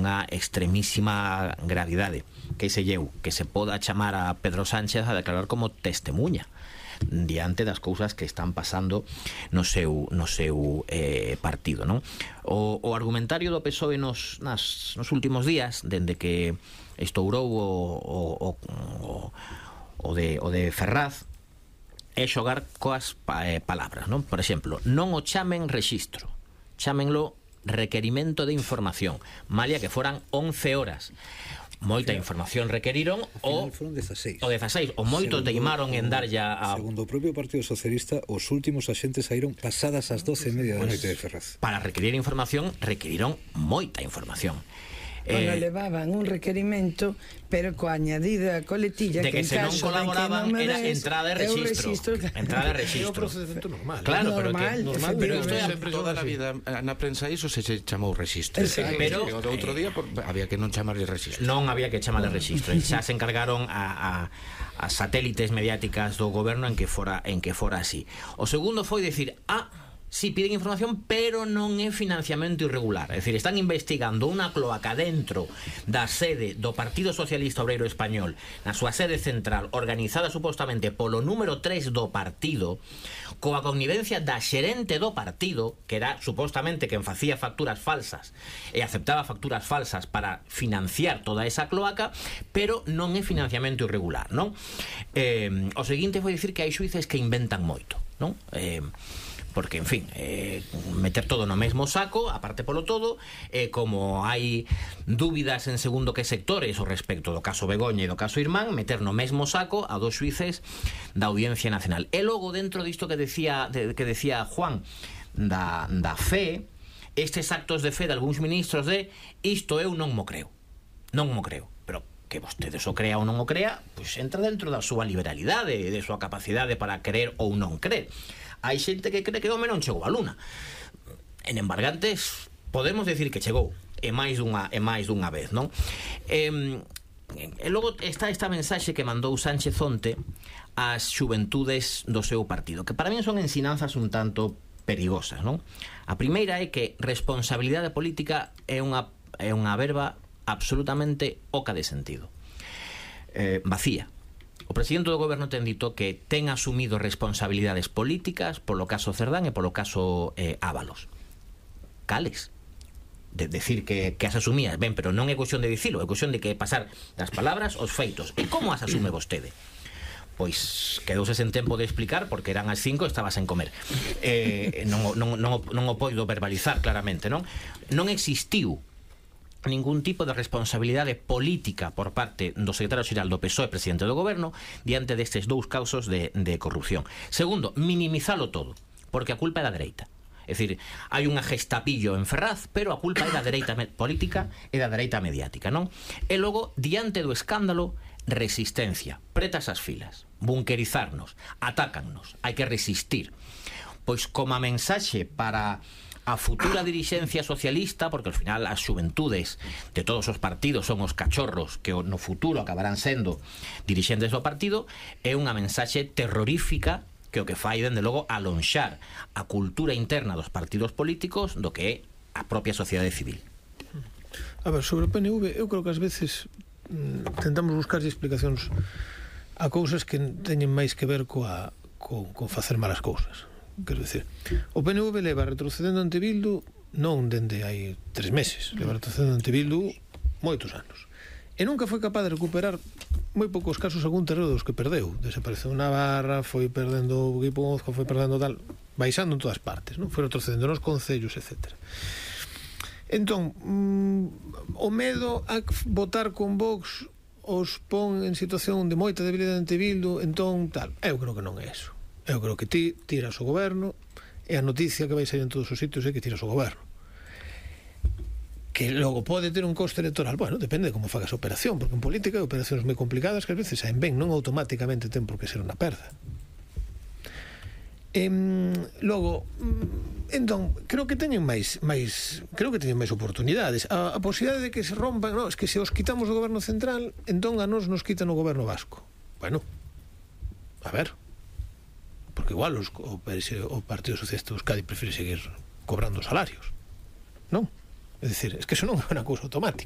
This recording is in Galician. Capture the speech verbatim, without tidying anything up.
dunha extremísima gravidade, que se lleu que se poda chamar a Pedro Sánchez a declarar como testemunha diante das cousas que están pasando no seu, no seu eh, partido, non? O, o argumentario do P S O E nos, nas, nos últimos días, dende que estourou o, o, o, o, de, o de Ferraz, é xogar coas eh, palabras, non? Por exemplo, non o chamen rexistro, chámenlo requerimento de información, malia que foran once horas. Moita información requeriron, o foron dezaseis. O dezaseis, o moitos teimaron en dar ya a... Segundo o propio Partido Socialista, os últimos axentes saíron pasadas as doce e media da noite de Ferraz. Para requerir información, requeriron moita información. Bueno, Eh, levaban un requerimento, pero coa añadida coletilla de que, en se non caso colaboraban de que non me era des, entrada de eu registro, registro. entrada de É o registro. procedimento normal. Claro, pero Normal, que Normal, pero isto efectivamente. sempre toda a vida na prensa iso se se chamou rexistro. Exacto. Pero, E o do outro día por, había que non chamarlle rexistro. Non había que chamarle registro. Xa se encargaron a, a, a satélites mediáticas do goberno en que fora en que fora así. O segundo foi decir, ah, sí, piden información, pero non é financiamento irregular. É dicir, están investigando unha cloaca dentro da sede do Partido Socialista Obreiro Español, na súa sede central, organizada supostamente polo número tres do partido, coa connivencia da xerente do partido, que era supostamente quen facía facturas falsas e aceptaba facturas falsas para financiar toda esa cloaca, pero non é financiamento irregular, non? Eh, o seguinte foi dicir que hai xuíces que inventan moito, non? Eh, porque, en fin, eh, meter todo no mesmo saco, aparte polo todo, eh, como hai dúbidas en segundo que sectores o respecto do caso Begoña e do caso Irmán, meter no mesmo saco a dos xuíces da Audiencia Nacional. E logo, dentro disto que decía, de, que decía Juan, da, da fe, estes actos de fe de algúns ministros de isto eu non mo creo, non mo creo, pero que vostedes o crea ou non o crea, pois entra dentro da súa liberalidade, de súa capacidade para creer ou non creer. Hai xente que cree que o home non chegou á luna. En embargantes podemos decir que chegou, e máis dunha, e máis dunha vez, non? E, e logo está esta mensaxe que mandou Sánchez onte ás xuventudes do seu partido, que para mí son ensinanzas un tanto perigosas, non? A primeira é que responsabilidade política é unha, é unha verba absolutamente oca de sentido, eh, vacía. O presidente do goberno ten dito que ten asumido responsabilidades políticas polo caso Cerdán e polo caso eh, Ábalos. Cales? De decir que, que as asumías, ben, pero non é cuestión de dicilo, é cuestión de que pasar das palabras aos feitos. E como as asume vostede? Pois quedouse sen tempo de explicar, porque eran as cinco e estaba sen comer. Eh, non, non, non, non o podo verbalizar claramente, non? Non existiu ningún tipo de responsabilidade política por parte do secretario xeral do P S O E, presidente do goberno, diante destes dous casos de, de corrupción. Segundo, minimizalo todo, porque a culpa é da dereita. É dicir, hai unha gestapillo en Ferraz, pero a culpa é da dereita política e da dereita mediática, non? E logo, diante do escándalo, resistencia, pretas as filas, bunkerizarnos, atácannos, hai que resistir. Pois como a mensaxe para a futura dirixencia socialista, porque ao final as xuventudes de todos os partidos son os cachorros que no futuro acabarán sendo dirixentes do partido, é unha mensaxe terrorífica que o que fai, dende logo, alonxar a cultura interna dos partidos políticos do que é a propia sociedade civil. A ver, sobre o P N V, eu creo que ás veces mm, tentamos buscar explicacións a cousas que teñen máis que ver coa, co, co facer malas cousas. Quero dicir, o P N V leva retrocedendo ante Bildu non dende hai tres meses, leva retrocedendo ante Bildu moitos anos, e nunca foi capaz de recuperar moi poucos casos algún terreno dos que perdeu. Desapareceu Navarra, foi perdendo o Guipúzcoa, foi perdendo tal, baixando en todas partes, non? Foi retrocedendo nos concellos, etcétera. Entón, mm, o medo a votar con Vox os pon en situación de moita debilidade ante Bildu, entón tal, eu creo que non é eso. Eu creo que ti tiras o goberno e a noticia que vai sair en todos os sitios é que tiras o goberno. Que logo pode ter un coste electoral, bueno, depende de como fagas a operación, porque en política hai operacións moi complicadas que ás veces saen ben, non automáticamente ten por que ser unha perda. E, logo, entón, creo que teñen máis, máis creo que teñen máis oportunidades. A, a posibilidade de que se rompan, no, es que se os quitamos o goberno central, entón a nos nos quitan o goberno vasco. Bueno, a ver, porque igual os, o, o Partido Socialista de Euskadi prefere seguir cobrando salarios, non? É dicir, es que eso non é unha cousa automática.